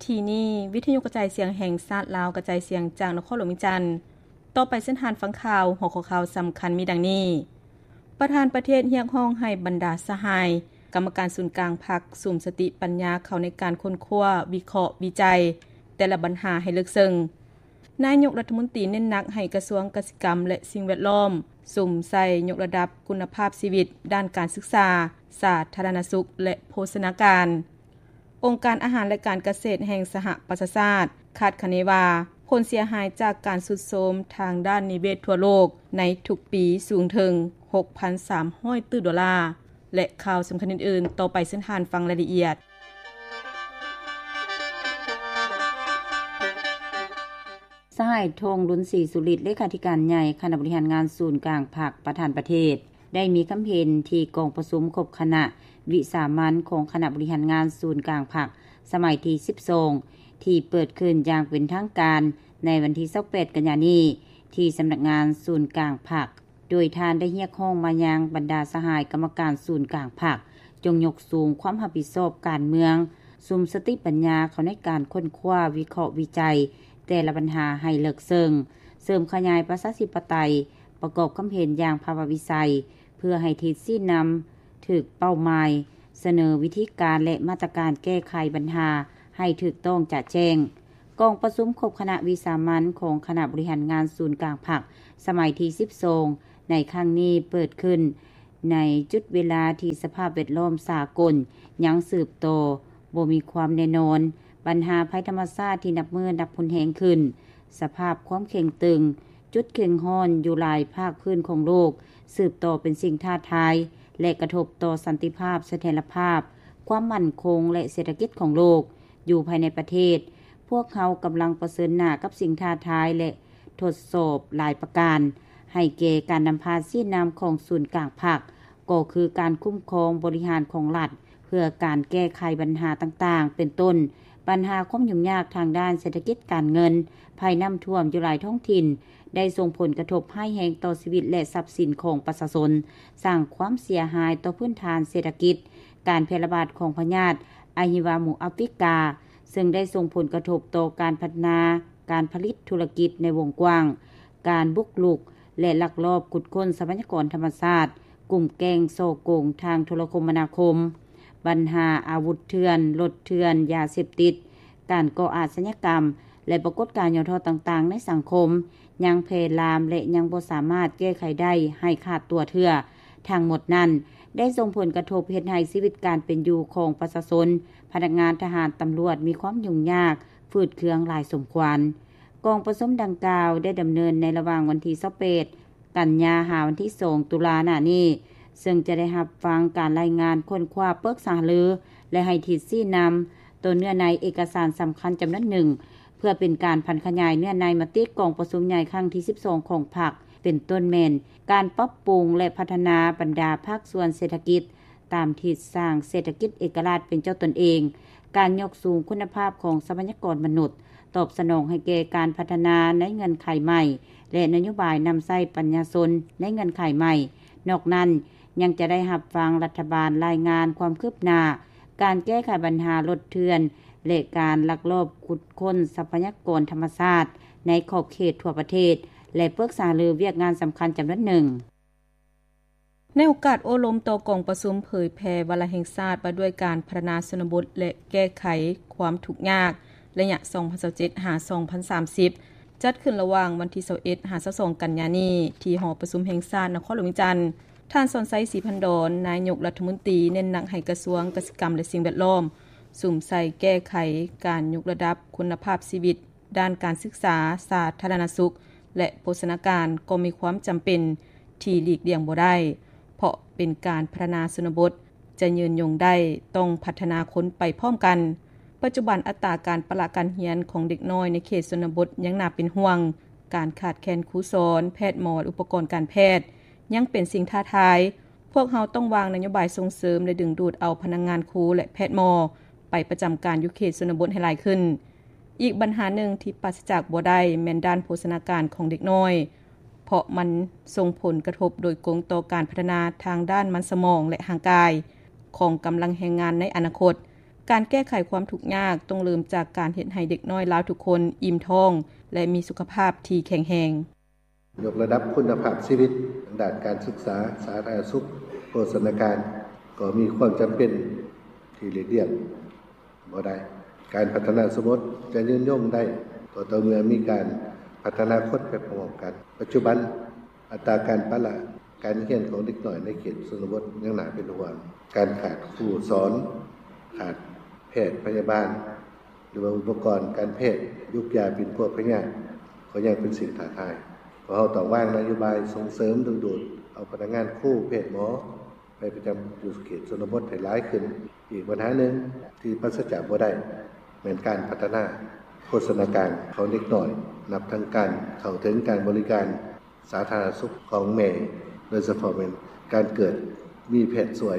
ທີ່ນີ້ ວິທະຍຸກະຈາຍສຽງແຫ່ງຊາດລາວ ກະຈາຍສຽງຈາກນະຄອນຫຼວງວຽງຈັນ. ຕໍ່ໄປເຊີນທ່ານຟັງຂ່າວ. ຫົວຂໍ້ຂ່າວສຳຄັນມີດັ່ງນີ້: ປະທານປະເທດຮຽກຮ້ອງໃຫ້ບັນດາສະຫາຍກຳມະການສູນກາງພັກ ສຸມສະຕິປັນຍາເຂົ້າໃນການຄົ້ນຄວ້າ, ວິເຄາະ, ວິໄຈແຕ່ລະບັນຫາໃຫ້ເລິກເຊິ່ງ. ນາຍົກລັດຖະມົນຕີເນັ້ນໜັກໃຫ້ກະຊວງກະສິກຳ ແລະ ສິ່ງແວດລ້ອມ ສຸມໃສ່ຍົກລະດັບຄຸນນະພາບຊີວິດດ້ານການສຶກສາ, ສາທາລະນະສຸກ ແລະ ໂພຊະນາການ. ອົງການອາຫານ ແລະ ການກະເສດແຫ່ງສະຫະປະຊາຊາດ ຄາດຄະເນວ່າ ຜົນເສຍຫາຍຈາກການຊຸດໂຊມທາງດ້ານນິເວດທົ່ວໂລກໃນທຸກປີສູງເຖິງ ຫົກພັນສາມຮ້ອຍຕື້ໂດລາ ແລະ ຂ່າວສຳຄັນອື່ນໆ. ຕໍ່ໄປເຊີນທ່ານຟັງລາຍລະອຽດ. ສະຫາຍ ທອງລຸນ ສີສຸລິດ ເລຂາທິການໃຫຍ່ຄະນະບໍລິຫານງານສູນກາງພັກ ປະທານປະເທດ ໄດ້ມີຄຳເຫັນທີ່ກອງປະຊຸມຄົບຄະນະວິສາມັນຂອງຄະນະບໍລິຫານງານສູນກາງພັກ ສະໄໝທີສິບສອງ ທີ່ເປີດຂຶ້ນຢ່າງເປັນທາງການໃນວັນທີຊາວແປດ ກັນຍານີ້ ທີ່ສຳນັກງານສູນກາງພັກ. ໂດຍທ່ານໄດ້ຮຽກຮ້ອງມາຍັງບັນດາສະຫາຍກຳມະການສູນກາງພັກ ຈົ່ງຍົກສູງຄວາມຮັບຜິດຊອບການເມືອງ, ສຸມສະຕິປັນຍາເຂົ້າໃນການຄົ້ນຄວ້າ, ວິເຄາະ, ວິໄຈແຕ່ລະບັນຫາໃຫ້ເລິກເຊິ່ງ, ເສີມຂະຫຍາຍປະຊາທິປະໄຕ, ປະກອບຄຳເຫັນຢ່າງພາວະວິໄຊ ເພື່ອໃຫ້ທິດຊີ້ນຳຖືກເປົ້າໝາຍ, ສະເໜີວິທີການ ແລະ ມາດຕະການແກ້ໄຂບັນຫາໃຫ້ຖືກຕ້ອງຈະແຈ້ງ. ກອງປະຊຸມຄົບຄະນະວິສາມັນຂອງຄະນະບໍລິຫານງານສູນກາງພັກ ສະໄໝທີສິບສອງ ໃນຄັ້ງນີ້ເປີດຂຶ້ນໃນຈຸດເວລາທີ່ສະພາບແວດລ້ອມສາກົນຍັງສືບຕໍ່ບໍ່ມີຄວາມແນ່ນອນ, ບັນຫາໄພທຳມະຊາດທີ່ນັບມື້ນັບຮຸນແຮງຂຶ້ນ, ສະພາບຄວາມເຄັ່ງຕຶງ, ຈຸດເຄັ່ງຮ້ອນຢູ່ຫຼາຍພາກພື້ນຂອງໂລກ ສືບຕໍ່ເປັນສິ່ງທ້າທາຍ ແລະ ກະທົບຕໍ່ສັນຕິພາບ, ສະຖຽນລະພາບ, ຄວາມໝັ້ນຄົງ ແລະ ເສດຖະກິດຂອງໂລກ. ຢູ່ພາຍໃນປະເທດ, ພວກເຮົາກຳລັງປະເຊີນໜ້າກັບສິ່ງທ້າທາຍ ແລະ ທົດສອບຫຼາຍປະການ ໃຫ້ແກ່ການນຳພາຊີ້ນຳຂອງສູນກາງພັກ ກໍຄືການຄຸ້ມຄອງບໍລິຫານຂອງລັດ ເພື່ອການແກ້ໄຂບັນຫາຕ່າງໆ ເປັນຕົ້ນ ບັນຫາຄວາມຫຍຸ້ງຍາກທາງດ້ານເສດຖະກິດການເງິນ, ໄພນ້ຳຖ້ວມຢູ່ຫຼາຍທ້ອງຖິ່ນ ໄດ້ສົ່ງຜົນກະທົບຮ້າຍແຮງຕໍ່ຊີວິດ ແລະ ຊັບສິນຂອງປະຊາຊົນ, ສ້າງຄວາມເສຍຫາຍຕໍ່ພື້ນຖານເສດຖະກິດ, ການແຜ່ລະບາດຂອງພະຍາດອະຫິວາໝູອາຟຣິກາ, ເຊິ່ງໄດ້ສົ່ງຜົນກະທົບຕໍ່ການພັດທະນາການຜະລິດທຸລະກິດໃນວົງກວ້າງ, ການບຸກລຸກ ແລະ ລັກລອບຂຸດຄົ້ນຊັບພະຍາກອນທຳມະຊາດ, ກຸ່ມແກ້ງສໍ້ໂກງທາງໂທລະຄົມມະນາຄົມ, ບັນຫາອາວຸດເຖື່ອນ, ລົດເຖື່ອນ, ຢາເສບຕິດ, ການກໍ່ອາຊະຍາກຳ ແລະ ປາກົດການຫຍໍ້ທໍ້ຕ່າງໆໃນສັງຄົມ ຍັງແຜ່ລາມ ແລະ ຍັງບໍ່ສາມາດແກ້ໄຂໄດ້ໃຫ້ຂາດຕົວເທື່ອ. ທັງໝົດນັ້ນໄດ້ສົ່ງຜົນກະທົບເຮັດໃຫ້ຊີວິດການເປັນຢູ່ຂອງປະຊາຊົນ, ພະນັກງານທະຫານ, ຕຳຫຼວດມີຄວາມຫຍຸ້ງຍາກ, ຝືດເຄືອງຫຼາຍສົມຄວນ. ກອງປະຊຸມດັ່ງກ່າວໄດ້ດຳເນີນໃນລະຫວ່າງວັນທີຊາວແປດ ກັນຍາ ຫາວັນທີສອງ ຕຸລາໜ້ານີ້, ເຊິ່ງຈະໄດ້ຮັບຟັງການລາຍງານຄົ້ນຄວ້າ, ປຶກສາຫາລື ແລະ ໃຫ້ທິດຊີ້ນຳຕໍ່ເນື້ອໃນເອກະສານສຳຄັນຈຳນວນໜຶ່ງ ເພື່ອເປັນການຜັນຂະຫຍາຍເນື້ອໃນມະຕິກອງປະຊຸມໃຫຍ່ຄັ້ງທີສິບສອງຂອງພັກ ເປັນຕົ້ນແມ່ນການປັບປຸງ ແລະ ພັດທະນາບັນດາພາກສ່ວນເສດຖະກິດ ຕາມທິດສ້າງເສດຖະກິດເອກະລາດເປັນເຈົ້າຕົນເອງ, ການຍົກສູງຄຸນນະພາບຂອງຊັບພະຍາກອນມະນຸດ, ຕອບສະໜອງໃຫ້ແກ່ການພັດທະນາໃນເງື່ອນໄຂໃໝ່ ແລະ ນະໂຍບາຍນຳໃຊ້ປັນຍາຊົນໃນເງື່ອນໄຂໃໝ່. ນອກນັ້ນ, ຍັງຈະໄດ້ຮັບຟັງລັດຖະບານລາຍງານຄວາມຄືບໜ້າການແກ້ໄຂບັນຫາລົດເຖື່ອນ ແລະ ການລັກລອບຂຸດຄົ້ນຊັບພະຍາກອນທຳມະຊາດໃນຂອບເຂດທົ່ວປະເທດ ແລະ ປຶກສາຫາລືວຽກງານສຳຄັນຈຳນວນໜຶ່ງ. ໃນໂອກາດໂອ້ລົມຕໍ່ກອງປະຊຸມເຜີຍແຜ່ວາລະແຫ່ງຊາດວ່າດ້ວຍການພັດທະນາຊົນນະບົດ ແລະ ແກ້ໄຂຄວາມທຸກຍາກ ໄລຍະ ສອງພັນຊາວເຈັດ ຫາ ສອງພັນສາມສິບ ຈັດຂຶ້ນລະຫວ່າງວັນທີຊາວເອັດ ຫາ ຊາວສອງ ກັນຍານີ້ ທີ່ຫໍປະຊຸມແຫ່ງຊາດນະຄອນຫຼວງວຽງຈັນ, ທ່ານ ສອນໄຊ ສີພັນດອນ ນາຍົກລັດຖະມົນຕີ ເນັ້ນໜັກໃຫ້ກະຊວງກະສິກຳ ແລະ ສິ່ງແວດລ້ອມ ສຸມໃສ່ແກ້ໄຂການຍົກລະດັບຄຸນນະພາບຊີວິດ ດ້ານການສຶກສາ, ສາທາລະນະສຸກ ແລະ ໂພຊະນາການ ກໍມີຄວາມຈຳເປັນທີ່ຫຼີກລ່ຽງບໍ່ໄດ້, ເພາະເປັນການພັດທະນາຊົນນະບົດຈະຍືນຍົງໄດ້ ຕ້ອງພັດທະນາຄົນໄປພ້ອມກັນ. ປັດຈຸບັນອັດຕາການປະລະການຮຽນຂອງເດັກນ້ອຍໃນເຂດຊົນນະບົດຍັງໜ້າເປັນຫ່ວງ, ການຂາດແຄນຄູສອນ, ແພດໝໍ ແລະ ອຸປະກອນການແພດ ຍັງເປັນສິ່ງທ້າທາຍ. ພວກເຮົາຕ້ອງວາງນະໂຍບາຍສົ່ງເສີມ ແລະ ດຶງດູດເອົາພະນັກງານຄູ ແລະ ແພດໝໍໄປປະຈຳການຢູ່ເຂດຊົນນະບົດໃຫ້ຫຼາຍຂຶ້ນ. ອີກບັນຫາໜຶ່ງທີ່ປາສະຈາກບໍ່ໄດ້ແມ່ນດ້ານໂພຊະນາການຂອງເດັກນ້ອຍ, ເພາະມັນສົ່ງຜົນກະທົບໂດຍກົງຕໍ່ການພັດທະນາທາງດ້ານມັນສະໝອງ ແລະ ຮ່າງກາຍຂອງກຳລັງແຮງງານໃນອະນາຄົດ. ການແກ້ໄຂຄວາມທຸກຍາກຕ້ອງເລີ່ມຈາກການເຮັດໃຫ້ເດັກນ້ອຍລາວທຸກຄົນອີ່ມທ້ອງ ແລະ ມີສຸຂະພາບທີ່ແຂງແຮງ. ຍົກລະດັບຄຸນນະພາບຊີວິດທາງດ້ານການສຶກສາ, ສາທາລະນະສຸກ, ໂພຊະນາການ ກໍມີຄວາມຈຳເປັນທີ່ຫຼີກລ່ຽງບໍ່ໄດ້. ການພັດທະນາຊົນນະບົດຈະຍືນຍົງໄດ້ ກໍຕໍ່ເມື່ອມີການພັດທະນາຄົນໄປພ້ອມກັນ. ປັດຈຸບັນ ອັດຕາການປະລະການຮຽນຂອງເດັກນ້ອຍໃນເຂດຊົນນະບົດຍັງໜ້າເປັນຫ່ວງ. ການຂາດຄູສອນ, ຂາດແພດພະຍາບານ ຫຼືວ່າອຸປະກອນການແພດ, ຢູກຢາປິ່ນປົວພະຍາດ ກໍຍັງເປັນສິ່ງທ້າທາຍ. ພວກເຮົາຕ້ອງວາງນະໂຍບາຍສົ່ງເສີມດຶງດູດເອົາພະນັກງານຄູ, ແພດ, ໝໍ ໄປປະຈຳຢູ່ເຂດຊົນນະບົດໃຫ້ຫຼາຍຂຶ້ນ. ອີກບັນຫາໜຶ່ງທີ່ປາສະຈາກບໍ່ໄດ້ ແມ່ນການພັດທະນາໂພຊະນາການຂອງເດັກນ້ອຍ ນັບທັງການເຂົ້າເຖິງການບໍລິການສາທາລະນະສຸກຂອງແມ່, ໂດຍສະເພາະແມ່ນການເກີດມີແພດຊ່ວຍ.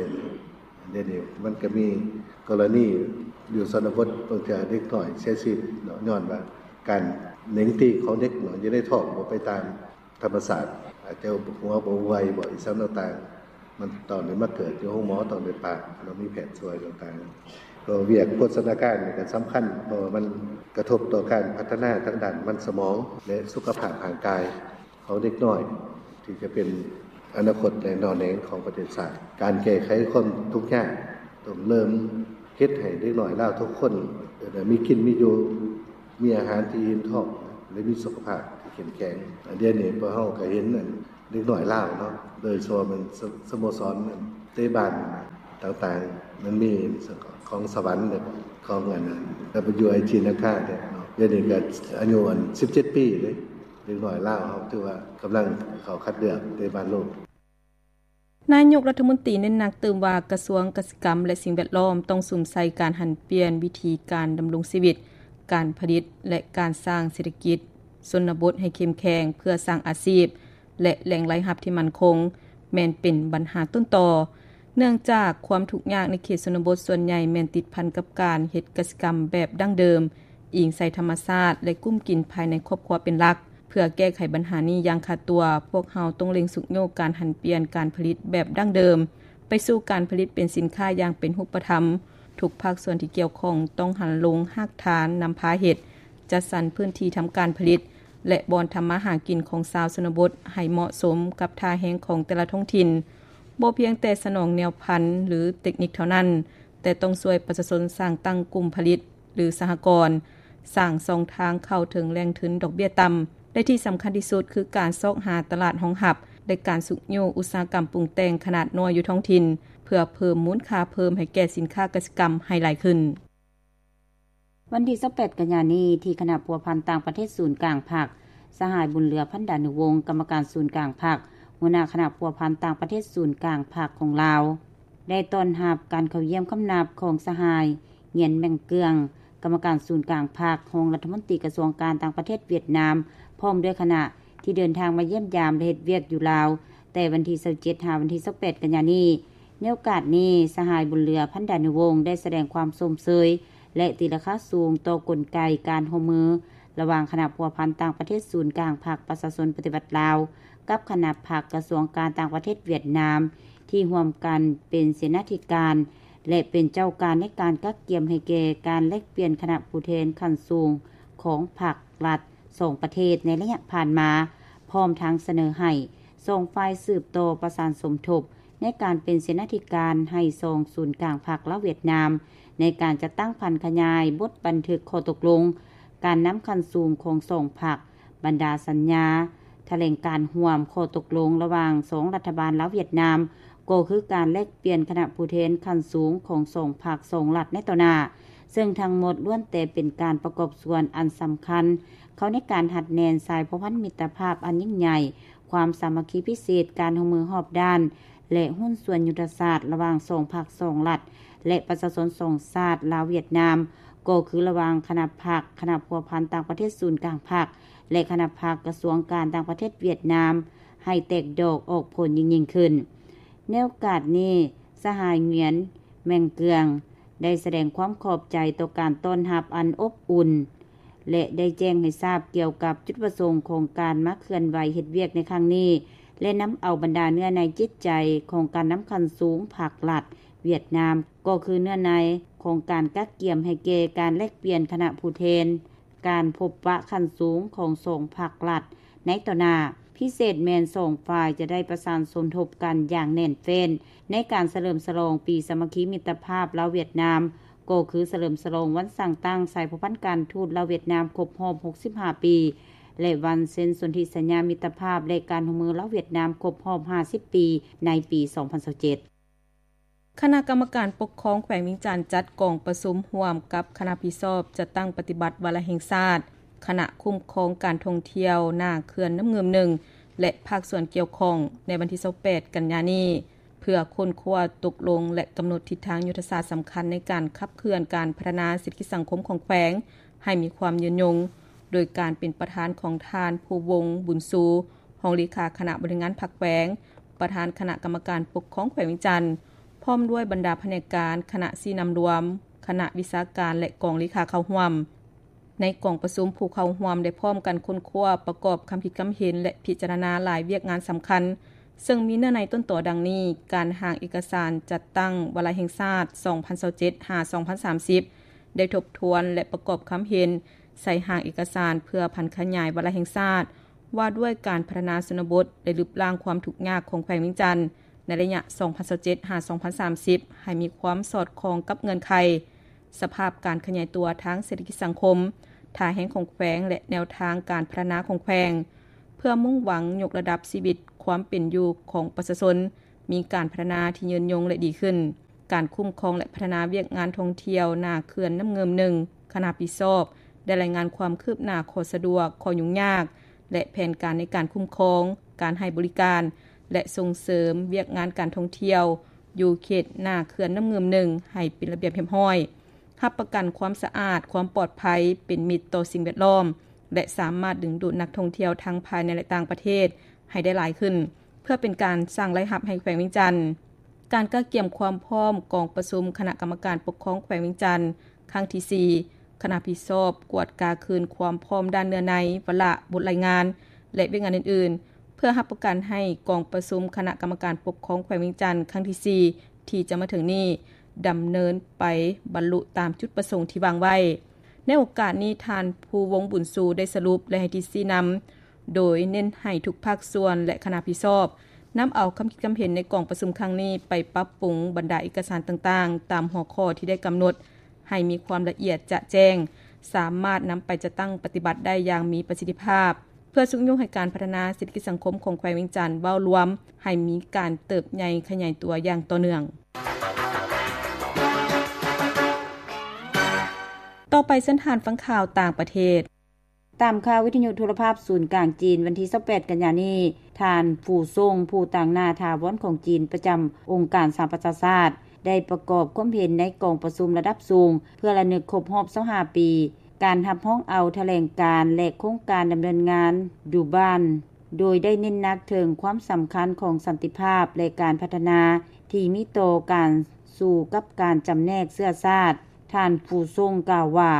ດຽວນີ້ມັນກໍມີກໍລະນີຢູ່ຊົນນະບົດ ບາງເທື່ອເດັກນ້ອຍເສຍຊີວິດເນາະ ຍ້ອນວ່າການເໜັງຕີຂອງເດັກນ້ອຍຢູ່ໃນທ້ອງບໍ່ໄປຕາມ ທຳມະຊາດ ອາດຈະຫົວບໍ່ໄວບໍ ອີ່ຫຍັງຕ່າງໆ ມັນຕ້ອງໄດ້ມາເກີດຢູ່ໂຮງໝໍ, ຕ້ອງໄດ້ຜ່າ ຕ້ອງມີແພດຊ່ວຍຕ່າງໆ. ກໍວຽກໂພຊະນາການນີ້ກໍສຳຄັນ ເພາະວ່າມັນກະທົບຕໍ່ການພັດທະນາທາງດ້ານມັນສະໝອງ ແລະ ສຸຂະພາບຮ່າງກາຍຂອງເດັກນ້ອຍ ທີ່ຈະເປັນອະນາຄົດ ແລະ ໜໍ່ແໜງຂອງປະເທດຊາດ. ການແກ້ໄຂຄວາມທຸກຍາກ ຕ້ອງເລີ່ມເຮັດໃຫ້ເດັກນ້ອຍລາວທຸກຄົນ ເອີ ໄດ້ມີກິນມີຢູ່, ມີອາຫານທີ່ອີ່ມທ້ອງ ແລະ ມີສຸຂະພາບທີ່ເຂັ້ມແຂງ. ອັນດຽວນີ້ພວກເຮົາກໍເຫັນອັນເດັກນ້ອຍລາວເນາະ, ໂດຍສະເພາະແມ່ນສະ ສະໂມສອນເຕະບານຕ່າງໆ ມັນມີຂອງສະຫວັນ ຂອງອັນນັ້ນ WIG ນາຄາເນາະ, ດຽວນີ້ກໍອາຍຸອັນສິບເຈັດປີເດ້. ເດັກນ້ອຍລາວເຮົາຖືວ່າກຳລັງເຂົ້າຄັດເລືອກເຕະບານໂລກ. ນາຍົກລັດຖະມົນຕີເນັ້ນໜັກຕື່ມວ່າ ກະຊວງກະສິກຳ ແລະ ສິ່ງແວດລ້ອມ ຕ້ອງສຸມໃສ່ການຫັນປ່ຽນວິທີການດຳລົງຊີວິດ, ການຜະລິດ ແລະ ການສ້າງເສດຖະກິດຊົນນະບົດໃຫ້ເຂັ້ມແຂງ ເພື່ອສ້າງອາຊີບ ແລະ ແຫຼ່ງລາຍຮັບທີ່ໝັ້ນຄົງ ແມ່ນເປັນບັນຫາຕົ້ນຕໍ. ເນື່ອງຈາກຄວາມທຸກຍາກໃນເຂດຊົນນະບົດສ່ວນໃຫຍ່ແມ່ນຕິດພັນກັບການເຮັດກະສິກຳແບບດັ້ງເດີມ, ອີງໃສ່ທຳມະຊາດ ແລະ ກຸ້ມກິນພາຍໃນຄອບຄົວເປັນຫຼັກ. ເພື່ອແກ້ໄຂບັນຫານີ້ຢ່າງຂາດຕົວ, ພວກເຮົາຕ້ອງເລັ່ງຊຸກຍູ້ການຫັນປ່ຽນການຜະລິດແບບດັ້ງເດີມ ໄປສູ່ການຜະລິດເປັນສິນຄ້າຢ່າງເປັນຮູບປະທຳ. ທຸກພາກສ່ວນທີ່ກ່ຽວຂ້ອງຕ້ອງຫັນລົງຮາກຖານນຳພາເຮັດ, ຈັດສັນພື້ນທີ່ທຳການຜະລິດ ແລະ ບ່ອນທຳມາຫາກິນຂອງຊາວຊົນນະບົດໃຫ້ເໝາະສົມກັບທ່າແຮງຂອງແຕ່ລະທ້ອງຖິ່ນ. ບໍ່ພຽງແຕ່ສະໜອງແນວພັນ ຫຼື ເຕັກນິກເທົ່ານັ້ນ, ແຕ່ຕ້ອງຊ່ວຍປະຊາຊົນສ້າງຕັ້ງກຸ່ມຜະລິດ ຫຼື ສະຫະກອນ, ສ້າງຊ່ອງທາງເຂົ້າເຖິງແຫຼ່ງທຶນດອກເບ້ຍຕ່ຳ ແລະ ທີ່ສຳຄັນທີ່ສຸດຄືການຊອກຫາຕະຫຼາດຮອງຮັບ ແລະ ການຊຸກຍູ້ອຸດສາຫະກຳປຸງແຕ່ງຂະໜາດນ້ອຍຢູ່ທ້ອງຖິ່ນ ເພື່ອເພີ່ມມູນຄ່າເພີ່ມໃຫ້ແກ່ສິນຄ້າກະສິກຳໃຫ້ຫຼາຍຂຶ້ນ. ວັນທີຊາວແປດ ກັນຍານີ້ ທີ່ຄະນະພົວພັນຕ່າງປະເທດສູນກາງພັກ, ສະຫາຍ ບຸນເຫຼືອ ພັນດານຸວົງ ກຳມະການສູນກາງພັກ, ຫົວໜ້າຄະນະພົວພັນຕ່າງປະເທດສູນກາງພັກຂອງລາວ ໄດ້ຕ້ອນຮັບການເຂົ້າຢ້ຽມຄຳນັບຂອງສະຫາຍ ຫງຽນ ແມັງເກືອງ ກຳມະການສູນກາງພັກ, ຮອງລັດຖະມົນຕີກະຊວງການຕ່າງປະເທດຫວຽດນາມ ພ້ອມດ້ວຍຄະນະ ທີ່ເດີນທາງມາຢ້ຽມຢາມ ແລະ ເຮັດວຽກຢູ່ລາວ ແຕ່ວັນທີຊາວເຈັດ ຫາວັນທີຊາວແປດ ກັນຍານີ້. ໃນໂອກາດນີ້, ສະຫາຍ ບຸນເຫຼືອ ພັນດານຸວົງ ໄດ້ສະແດງຄວາມຊົມເຊີຍ ແລະ ຕີລາຄາສູງຕໍ່ກົນໄກການຮ່ວມມືລະຫວ່າງຄະນະພົວພັນຕ່າງປະເທດສູນກາງພັກປະຊາຊົນປະຕິວັດລາວ ກັບຄະນະພັກກະຊວງການຕ່າງປະເທດຫວຽດນາມ ທີ່ຮ່ວມກັນເປັນເສນາທິການ ແລະ ເປັນເຈົ້າການໃນການກະກຽມໃຫ້ແກ່ການແລກປ່ຽນຄະນະຜູ້ແທນຂັ້ນສູງຂອງພັກລັດສອງປະເທດໃນໄລຍະຜ່ານມາ, ພ້ອມທັງສະເໜີໃຫ້ສອງຝ່າຍສືບຕໍ່ປະສານສົມທົບໃນການເປັນເສນາທິການໃຫ້ສອງສູນກາງພັກລາວຫວຽດນາມ ໃນການຈັດຕັ້ງຜັນຂະຫຍາຍບົດບັນທຶກຂໍ້ຕົກລົງການນຳຂັ້ນສູງຂອງສອງພັກ, ບັນດາສັນຍາ, ຖະແຫຼງການຮ່ວມ, ຂໍ້ຕົກລົງລະຫວ່າງສອງລັດຖະບານລາວຫວຽດນາມ ກໍຄືການແລກປ່ຽນຄະນະຜູ້ແທນຂັ້ນສູງຂອງສອງພັກສອງລັດໃນຕໍ່ໜ້າ, ເຊິ່ງທັງໝົດລ້ວນແຕ່ເປັນການປະກອບສ່ວນອັນສຳຄັນເຂົ້າໃນການຮັດແໜ້ນສາຍພົວພັນມິດຕະພາບອັນຍິ່ງໃຫຍ່, ຄວາມສາມັກຄີພິເສດ, ການຮ່ວມມືຮອບດ້ານ ແລະ ຫຸ້ນສ່ວນຍຸດທະສາດລະຫວ່າງສອງພັກສອງລັດ ແລະ ປະຊາຊົນສອງຊາດລາວຫວຽດນາມ, ກໍຄືລະຫວ່າງຄະນະພັກ, ຄະນະພົວພັນຕ່າງປະເທດສູນກາງພັກ ແລະ ຄະນະພັກກະຊວງການຕ່າງປະເທດຫວຽດນາມ ໃຫ້ແຕກດອກອອກຜົນຍິ່ງໆຂຶ້ນ. ໃນໂອກາດນີ້, ສະຫາຍ ຫງຽນ ແມັງເກືອງ ໄດ້ສະແດງຄວາມຂອບໃຈຕໍ່ການຕ້ອນຮັບອັນອົບອຸ່ນ ແລະ ໄດ້ແຈ້ງໃຫ້ຊາບກ່ຽວກັບຈຸດປະສົງຂອງການມາເຄື່ອນໄຫວເຮັດວຽກໃນຄັ້ງນີ້ ແລະ ນຳເອົາບັນດາເນື້ອໃນຈິດໃຈຂອງການນຳຂັ້ນສູງພັກລັດຫວຽດນາມ ກໍຄືເນື້ອໃນ ຂອງການກະກຽມໃຫ້ແກ່ການແລກປ່ຽນຄະນະຜູ້ແທນ ການພົບປະຂັ້ນສູງຂອງສອງພັກລັດໃນຕໍ່ໜ້າ. ພິເສດແມ່ນສອງຝ່າຍຈະໄດ້ປະສານສົມທົບກັນຢ່າງແໜ້ນແຟ້ນ ໃນການສະເຫຼີມສະຫຼອງປີສາມັກຄີມິດຕະພາບລາວຫວຽດນາມ, ກໍຄືສະເຫຼີມສະຫຼອງວັນສ້າງຕັ້ງສາຍພົວພັນການທູດລາວຫວຽດນາມຄົບຮອບຫົກສິບຫ້າປີ ແລະ ວັນເຊັນສົນທິສັນຍາມິດຕະພາບ ແລະ ການຮ່ວມມືລາວຫວຽດນາມຄົບຮອບຫ້າສິບປີ ໃນປີສອງພັນຊາວເຈັດ. ຄະນະກຳມະການປົກຄອງແຂວງວຽງຈັນ ຈັດກອງປະຊຸມຮ່ວມກັບຄະນະຮັບຜິດຊອບຈັດຕັ້ງປະຕິບັດວາລະແຫ່ງຊາດ, ຄະນະຄຸ້ມຄອງການທ່ອງທ່ຽວໜ້າເຂື່ອນນ້ຳງື່ມໜຶ່ງ ແລະ ພາກສ່ວນກ່ຽວຂ້ອງ ໃນວັນທີຊາວແປດ ກັນຍານີ້ ເພື່ອຄົ້ນຄວ້າຕົກລົງ ແລະ ກຳນົດທິດທາງຍຸດທະສາດສຳຄັນໃນການຂັບເຄື່ອນການພັດທະນາເສດຖະກິດສັງຄົມຂອງແຂວງໃຫ້ມີຄວາມຍືນຍົງ, ໂດຍການເປັນປະທານຂອງທ່ານ ພູວົງ ບຸນຊູ ຮອງເລຂາຄະນະບໍລິຫານງານພັກແຂວງ, ປະທານຄະນະກຳມະການປົກຄອງແຂວງວຽງຈັນ, ພ້ອມດ້ວຍບັນດາພະແນກການ, ຄະນະຊີ້ນຳລວມ, ຄະນະວິຊາການ ແລະ ກອງເລຂາເຂົ້າຮ່ວມ. ໃນກອງປະຊຸມ, ຜູ້ເຂົ້າຮ່ວມໄດ້ພ້ອມກັນຄົ້ນຄວ້າ, ປະກອບຄຳຄິດຄຳເຫັນ ແລະ ພິຈາລະນາຫຼາຍວຽກງານສຳຄັນ, ເຊິ່ງມີເນື້ອໃນຕົ້ນຕໍດັ່ງນີ້: ການຮ່າງເອກະສານຈັດຕັ້ງວາລະແຫ່ງຊາດ ສອງພັນຊາວເຈັດ ຫາ ສອງພັນສາມສິບ ໄດ້ທົບທວນ ແລະ ປະກອບຄຳເຫັນໃສ່ຮ່າງເອກະສານເພື່ອຜັນຂະຫຍາຍວາລະແຫ່ງຊາດ ວ່າດ້ວຍການພັດທະນາຊົນນະບົດ ແລະ ລຶບລ້າງຄວາມທຸກຍາກຂອງແຂວງວຽງຈັນ ໃນໄລຍະ ສອງພັນຊາວເຈັດ ຫາ ສອງພັນສາມສິບ ໃຫ້ມີຄວາມສອດຄ່ອງກັບເງື່ອນໄຂ ສະພາບການຂະຫຍາຍຕົວທາງເສດຖະກິດສັງຄົມ, ທ່າແຮງຂອງແຂວງ ແລະ ແນວທາງການພັດທະນາຂອງແຂວງ, ເພື່ອມຸ່ງຫວັງຍົກລະດັບຊີວິດຄວາມເປັນຢູ່ຂອງປະຊາຊົນ ມີການພັດທະນາທີ່ຍືນຍົງ ແລະ ດີຂຶ້ນ. ການຄຸ້ມຄອງ ແລະ ພັດທະນາວຽກງານທ່ອງທ່ຽວໜ້າເຂື່ອນນ້ຳງື່ມໜຶ່ງ ຄະນະຮັບຜິດຊອບ ໄດ້ລາຍງານຄວາມຄືບໜ້າ, ຂໍ້ສະດວກ, ຂໍ້ຫຍຸ້ງຍາກ ແລະ ແຜນການໃນການຄຸ້ມຄອງ, ການໃຫ້ບໍລິການ ແລະ ສົ່ງເສີມວຽກງານການທ່ອງທ່ຽວ ຢູ່ເຂດໜ້າເຂື່ອນນ້ຳງື່ມໜຶ່ງ ໃຫ້ເປັນລະບຽບຮຽບຮ້ອຍ, ຮັບປະກັນຄວາມສະອາດ, ຄວາມປອດໄພ, ເປັນມິດຕໍ່ສິ່ງແວດລ້ອມ ແລະ ສາມາດດຶງດູດນັກທ່ອງທ່ຽວທັງພາຍໃນ ແລະ ຕ່າງປະເທດໃຫ້ໄດ້ຫຼາຍຂຶ້ນ, ເພື່ອເປັນການສ້າງລາຍຮັບໃຫ້ແຂວງວຽງຈັນ. ການກະກຽມຄວາມພ້ອມກອງປະຊຸມຄະນະກຳມະການປົກຄອງແຂວງວຽງຈັນ ຄັ້ງທີສີ່ ຄະນະຮັບຜິດຊອບກວດກາຄືນຄວາມພ້ອມດ້ານເນື້ອໃນ, ວາລະ, ບົດລາຍງານ ແລະ ວຽກງານອື່ນໆ ເພື່ອຮັບປະກັນໃຫ້ກອງປະຊຸມຄະນະກຳມະການປົກຄອງແຂວງວຽງຈັນ ຄັ້ງທີສີ່ ທີ່ຈະມາເຖິງນີ້ ດຳເນີນໄປບັນລຸຕາມຈຸດປະສົງທີ່ວາງໄວ້. ໃນໂອກາດນີ້, ທ່ານ ພູວົງ ບຸນຊູ ໄດ້ສະຫຼຸບ ແລະ ໃຫ້ທິດຊີ້ນຳ ໂດຍເນັ້ນໃຫ້ທຸກພາກສ່ວນ ແລະ ຄະນະຮັບຜິດຊອບ ນຳເອົາຄຳຄິດຄຳເຫັນໃນກອງປະຊຸມຄັ້ງນີ້ ໄປປັບປຸງບັນດາເອກະສານຕ່າງໆ ຕາມຫົວຂໍ້ທີ່ໄດ້ກຳນົດ ໃຫ້ມີຄວາມລະອຽດຈະແຈ້ງ, ສາມາດນຳໄປຈັດຕັ້ງປະຕິບັດໄດ້ຢ່າງມີປະສິດທິພາບ, ເພື່ອຊຸກຍູ້ໃຫ້ການພັດທະນາເສດຖະກິດສັງຄົມຂອງແຂວງວຽງຈັນເວົ້າລວມ ໃຫ້ມີການເຕີບໃຫຍ່ຂະຫຍາຍຕົວຢ່າງຕໍ່ເນື່ອງ. ຕໍ່ໄປເຊີນທ່ານຟັງຂ່າວຕ່າງປະເທດ. ຕາມຂ່າວວິທະຍຸໂທລະພາບສູນກາງຈີນ ວັນທີຊາວແປດ ກັນຍານີ້, ທ່ານ ຟູ ຊົງ ຜູ້ຕາງໜ້າຖາວອນຂອງຈີນປະຈຳອົງການສະຫະປະຊາຊາດ ໄດ້ປະກອບຄວາມເຫັນໃນກອງປະຊຸມລະດັບສູງ ເພື່ອລະນຶກຄົບຮອບຊາວຫ້າປີ ການຮັບຮອງເອົາຖະແຫຼງການ ແລະ ໂຄງການດຳເນີນງານ ດູບານ ໂດຍໄດ້ເນັ້ນໜັກເຖິງຄວາມສຳຄັນຂອງສັນຕິພາບ ແລະ ການພັດທະນາທີ່ມີຕໍ່ການສູ້ກັບການຈຳແນກເຊື້ອຊາດ. ທ່ານ ຟູ ຊົງ ກ່າວວ່າ,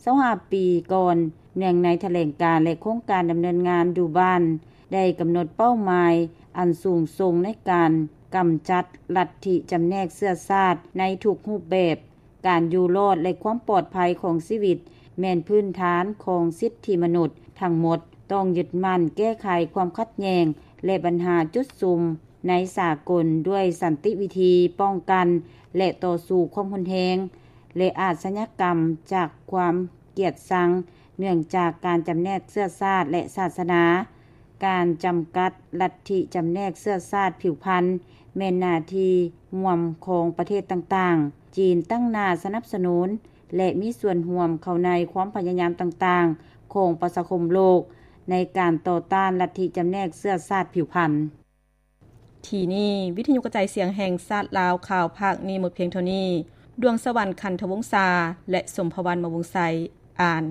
ຊາວຫ້າປີກ່ອນ, ເນື່ອງໃນຖະແຫຼງການ ແລະ ໂຄງການດຳເນີນງານດູບານ ໄດ້ກຳນົດເປົ້າໝາຍອັນສູງສົ່ງໃນການກຳຈັດລັດທິຈຳແນກເຊື້ອຊາດໃນທຸກຮູບແບບ. ການຢູ່ລອດ ແລະ ຄວາມປອດໄພຂອງຊີວິດ ແມ່ນພື້ນຖານຂອງສິດທິມະນຸດທັງໝົດ. ຕ້ອງຍຶດໝັ້ນແກ້ໄຂຄວາມຂັດແຍ່ງ ແລະ ບັນຫາຈຸດສຸມໃນສາກົນດ້ວຍສັນຕິວິທີປ້ອງກັນ ແລະ ຕໍ່ສູ້ຄວາມຮຸນແຮງ ແລະ ອາຊະຍາກຳຈາກຄວາມກຽດຊັງ ເນື່ອງຈາກການຈຳແນກເຊື້ອຊາດ ແລະ ສາສະໜາ. ການຈຳກັດລັດທິຈຳແນກເຊື້ອຊາດຜິວພັນ ແມ່ນໜ້າທີ່ຮ່ວມຂອງປະເທດຕ່າງໆ. ຈີນຕັ້ງໜ້າສະໜັບສະໜູນ ແລະ ມີສ່ວນຮ່ວມເຂົ້າໃນຄວາມພະຍາຍາມຕ່າງໆຂອງປະຊາຄົມໂລກ ໃນການຕໍ່ຕ້ານລັດທິຈຳແນກເຊື້ອຊາດຜິວພັນ. ທີ່ນີ້ ວິທະຍຸກະຈາຍສຽງແຫ່ງຊາດລາວ ຂ່າວພາກນີ້ໝົດພຽງເທົ່ານີ້. ດວງສະຫວັນ ຂັນທະວົງສາ ແລະ ສົມພະວັນ ມະວົງໄຊ ອ່ານ.